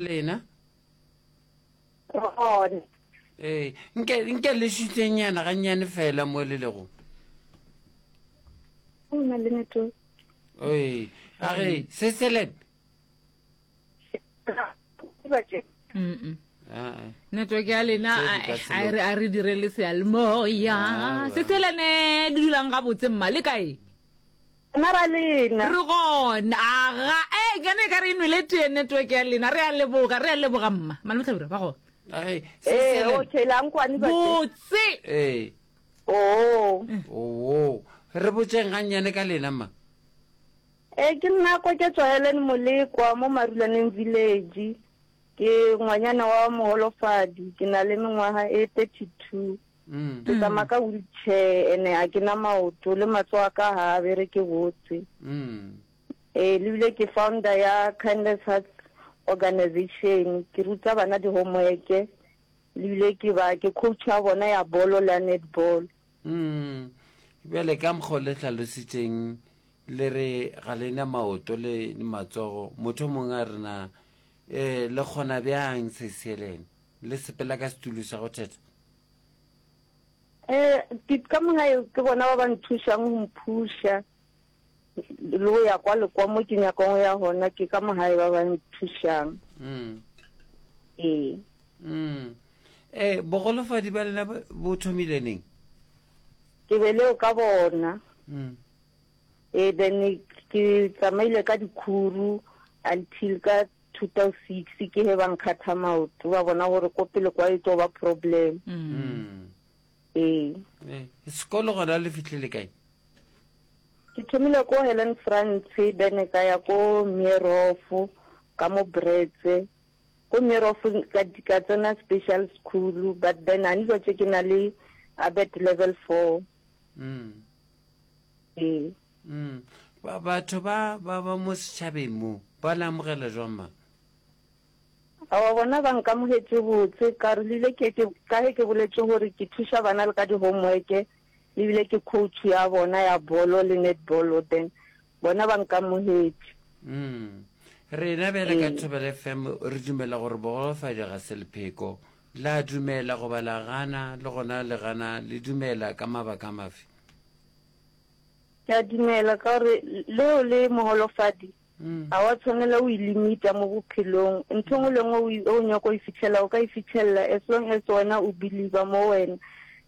Lena? Gona. Ee, nke, nke le šutenyana gannyane fela mo le lego. O na le network. Ee, a re, se selen. Mm-mm. Ah, eh. Network ya lena Tse di ka a- se a loke. re a re dire le seyalemoya. Ah, Se selene le dulang gabotse mma le kae? Rena ra lena. Re gona. Aga, e nkane e ka re e nwele tee network ya lena. Re a leboga, re a leboga mma. Malome Hlabirwa, ba gona. Ai, se Ee, selen. okay, la nkwane ba Botse. Ee. Oh. Oo. Re botšeng gannyane ka lena mma. Ee, ke nna Koketso Helen Molekwa mo Marulaneng Village. Ke ngwanyana wa moholofadi, ke na le mengwaga e 32. Mm. Ke tsamaya ka wheelchair ene a ke na maoto le matsogo a ka ga a bereke botse. Mm. Ee, le bile ke founder ya Kindness Hearts Organization. Ke ruta bana di-homework le bile ke ba ke coach ya bona ya bolo le ya netball. Mm. Bjale ka mokgwa o le hlalositšeng le re ga le na maoto le matsogo, motho mongwe a re na eh le kgona bjang se Helen? Le sepela ka setulo sa go thetha? Eh, ke ka mo gae ke bona ba ba nthušang go mphuša le go ya kwa le kwa mo ke nyakang go ya gona ke ka mo gae ba ba nthušang. Mm. Ee. Mm. Eh, bogolofadi ba lena bo thomile neng? Ke be leo ka bona. Mm. Ee, then ke tsamaile ka dikhuru until ka 2006 ke he ba nkgatha maoto ba bona gore ko pele kwa e tlo ba problem. Mm. Ee. Eh, sekolo gona le fihlile kae? Ke thomile ko Helen Frantz then ka ya ko Meerhof ka mo Bretse. Ko Meerhof ka ka tsena special school but then a ne tse ke na le ABET level 4. Mm. Ee. Mm. Ba, batho ba, ba, ba mo setšhabeng mo, ba le amogela jwang ma? Aowa, bona ba nkamogetše botse, ka re le ile ke, ke, ka ge ke boletše gore ke thuša bana le ka di-homework, le bile ke coach ya bona ya bolo le netball, then bona ba nkamogetše. Mm. Rena bjale ka Ee. Thobela FM re dumela gore bogolofadi ga se lepheko. La dumela goba la gana, le gona le gana le dumela ka mabaka mafe? Ke a dumela ka gore le o le moholofadi ga wa tshwanela o ilimita mo bophelong. Ntho engwe le engwe o nyako e fitlhela o ka e fitlhelela as long as wena o believer mo wena.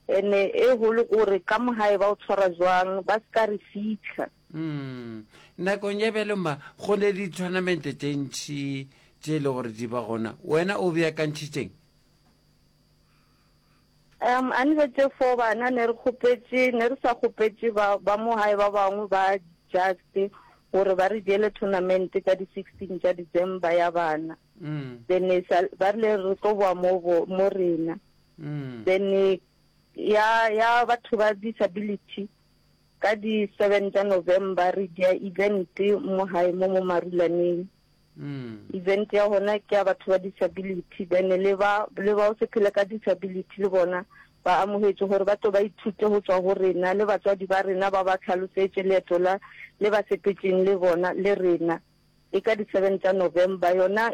Ene e golo gore ka mo gae ba o tshwara jwang, ba se ka re fitlha. Mm. Nakong ya bjalo ma go ne di-tournament tše ntši tše e le gore di ba gona. Wena o beakantšhitšeng? Um, a ne tše fo bana ne re kgopetše, ne re sa kgopetše ba, ba mo gae ba bangwe ba just gore ba re diele tournament ka di 16 tša December ya bana. Mm. Then e sa, ba rile re tlo boa mo bo, mo rena. Mm. Then ya, ya batho ba disability ka di 7 tša November re dia event mo gae mo mo Marulaneng. Event ya gona ke ya batho ba disability then le ba le ba o se phele ka disability le bona ba amogetše gore ba tlo ba ithute go tšwa go rena le batswadi ba rena ba ba tlhalosetše leeto la le ba sepetšeng le bona le rena e ka di seven tša November yona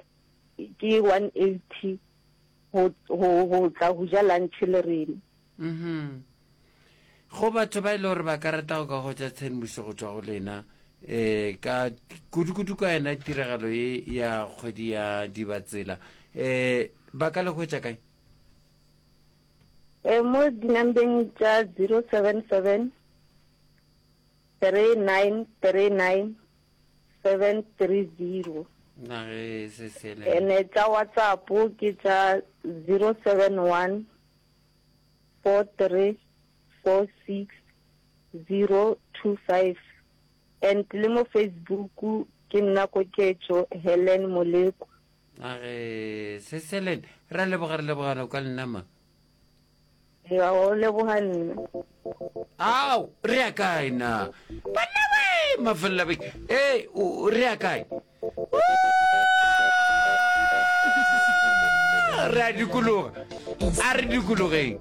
ke 180 go go go tla go ja lunch le rena. Mhm. Go batho ba e le gore ba ka rata go ka hwetša tshedimošo go tšwa go lena um ka kudu-kudu ka yona tiragalo ye ya kgwedi ya Dibatsela um ba ka le hwetša kae? Eh, mo dinambeng tša 077 3939 730. Na ge se sele. Ene tša WhatsApp ke tša 071 4346025 and le mo Facebook ke nna Koketšo Helen Molekwa. A re Sis Helen, re a leboga re lebogana ka lena ma. Ya o leboga nna. Ao, re ya kae na? Banna we, mafelelo a beke. Ee, re ya kae? Re a dikologa. A re dikologeng.